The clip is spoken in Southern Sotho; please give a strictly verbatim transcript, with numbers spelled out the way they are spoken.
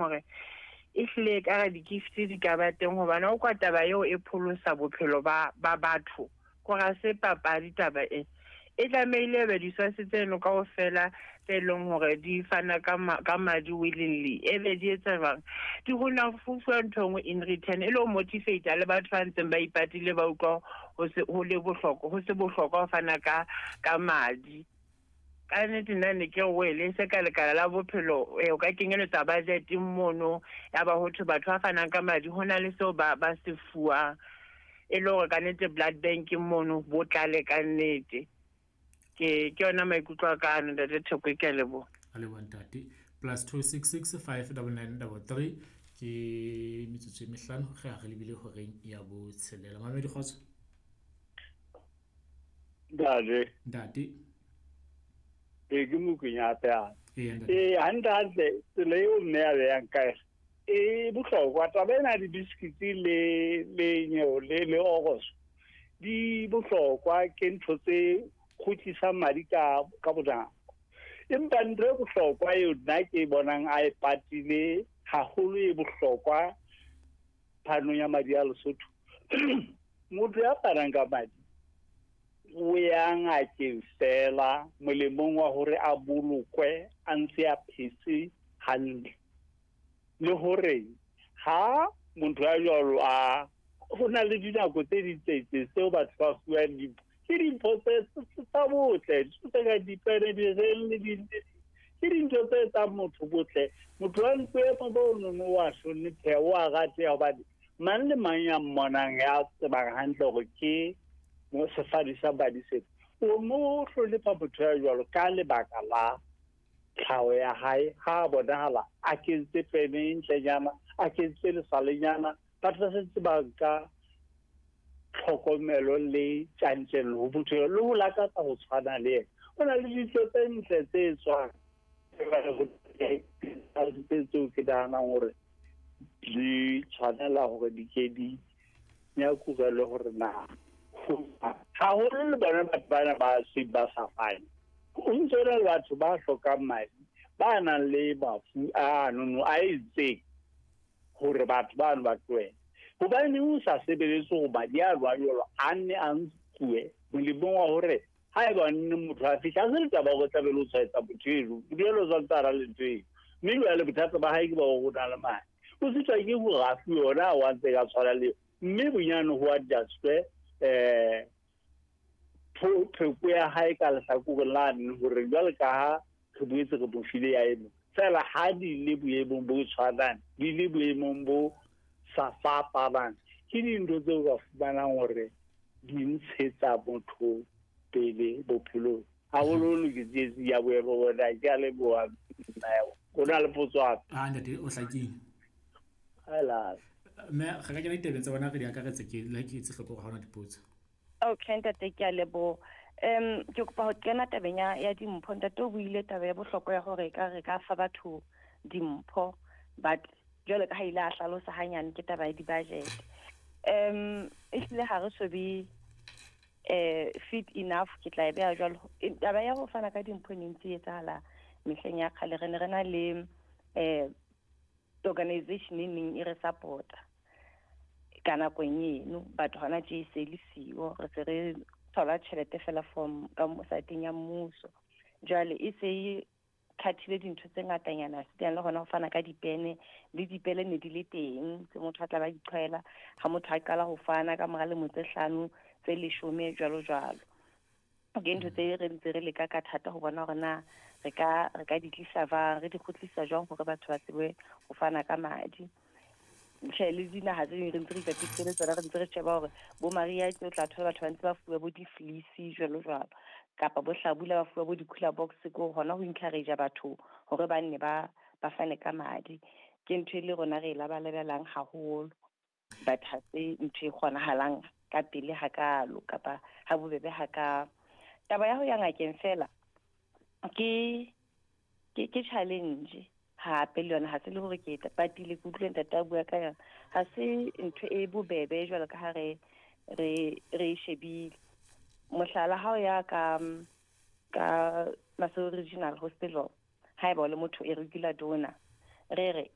Hore ehlile e ka re di-gift di ka ba teng, hobane o kwa taba eo e pholosa bophelo ba ba batho. Kore ha se papadi taba e. E tlamehile be di-source tseno kaofela tse leng hore di fana ka ma, ka madi willingly, e be di etsa jwang? Di hona fuwa ntho e nngwe in return, e le ho motivate le batho ba ntseng ba ipatile, ba utlwa ho se ho le bohlokwa, ho se bohlokwa ho fana ka ka madi. Ka nnete nna ne ke re wele se ka lekala la bophelo, eh, o ka kenyeletsa budget mono, ya ba ho thwe batho ba fanang ka madi ho na le seo ba ba se fuwang, e le hore ka nnete blood bank mono bo tlale ka nnete. Ke ke yona maikutlo a ka ano, Ntate Theko, ke a leboha. A leboha, ntate. Plus two six six five double nine double three. Ke metsotso e mehlano ge a re lebile horeng ya botshelela. Mamedi, kgotso. Ntate. Ntate. Ee, ke Mokwenya hape. Eya, ntate. Ee, hantle hantle tsela eo mme a beyang ka yona e bohlokwa. Taba ena ya di-biscuits le le nyeo le le oroso di bohlokwa, ke ntho tse kgutlisang madi ka ka bonako. Empa ntho e bohlokwa eo nna ke bonang a e patile haholo, e bohlokwa phanong ya madi a Lesotho, motho ya fanang ka madi o ya ngakeng fela molemong wa hore a bolokwe a ntse a phetse hantle, le hore ha motho ya jwalo a ho na le dinako tse ding tse itseng tseo batho ba fuwang dimpho, ke dimpho tse tsa botle, tse ka dipene, direng le di, ke dintho tse etsang motho botle. Motho wa ntlo bo nono wa hlonepheha, o a rateha, hobane mang le mang ya mmonang, ya tsebang hantle hore ke mo sefadi sa madi sena, o mo hlonepha motho ya jwalo ka lebaka la tlhaho ya hae. Ha a bonahala a kentse pene e ntlenyana, a kentse lesalenyana, batho ba sentse ba nka tlhokomelo le tjantjello ho motho eo, le ho lakatsa ho tshwana le yena. Ho na le dintho tse ntle tse etswang tseo ke nahanang hore di tshwanela hore di ke di nyakurelwe, hore na haholo le bona batho bana ba seng ba sa fane, ho ntso na le batho ba hlokang madi, ba nang le mafu ano a itseng, hore batho bano ba tlohele. Hobaneng o sa sebeletse hore madi a jwalo a nne a nkuwe molemong wa hore haeba nne motho a fihla, a se le taba hore tlabe le o tshwaetsa motho eno, motho eno o santse a na le ntho eo, mme jwale bothata ba hae ke ba hore o na le madi, o sitwa ke hore a fuwe ona ao a ntse ka tshwana le, mme bonyane ho adjustwe um pheko ya hae ka lehlakoreng lane, hore jwale ka ha re boetse re mo file ya eno fela, ha di le boemong bo tshwanang, di le boemong bo sa fapanang, ke dintho tseo ka fumanang hore di ntshetsa motho pele bophelong haholoholo. Ke tsietsi ya boemo bona. Ke a leboha. O na le potso hape? Ah, ntate, o hlakile. Hela. Mme re ka kena ditabeng tsa bona, re di akaretse, ke la ke etse hloko hore ha hona dipotso. Okay, ntate, ke a leboha. um ke kopa ho kena tabeng ya ya dimpho. Ntate o buile taba ya bohlokwa ya hore ka re ka fa batho dimpho, but jwalo ka ha ile a hlalosa hanyane, ke taba ya di-budget. um ehlile ha re so be eh fit enough, ke tla e beha jwalo. Taba ya ho fana ka dimpho e ne ntse e etsahala mehleng ya kgale. Re ne re na le eh organization e neng e re support-a ka nakong eno, but hona tje e se le siyo. Re se re thola tjhelete fela from ka saeteng ya mmuso. Jwale e se e cut-ile dintho tse ngatanyana, se le hona ho fana ka dipene le dipele ne di le teng tse motho a tla ba di qhwela ha motho a qala ho fana ka mora lemo tse hlano, tse leshome, jwalo jwalo. Ke ntho tse re ntse re leka ka thata ho bona hore na re ka re ka di tlisa jwang, re di kgutlisa jwang, hore batho ba tsebe ho fana ka madi. Tjhe, le dinaha tse ding re ntse re ipapisitse le tsona, re ntse re sheba hore bo mariha o tla thola batho ba ntse ba fuwa bo di-fleece jwalo jwalo, kapa bo hlabula ba fuwa bo di-cooler box, ko hona ho encourage batho hore ba nne ba ba fane ka madi. Ke ntho e le rona re e labalabelang haholo, but ha se ntho e kgonahalang ka pele hakalo kapa ha bobebe hakalo. Taba ya ho ya ngakeng fela ke ke ke challenge hape le yona. Ha se le hore ke patile, ke utlwe ntate a bua ka yona, ha se ntho e bobebe jwalo ka ha re re re e shebile. Mohlala, ha o ya ka ka Maseru Regional Hospital, haeba o le motho e regular donor, re re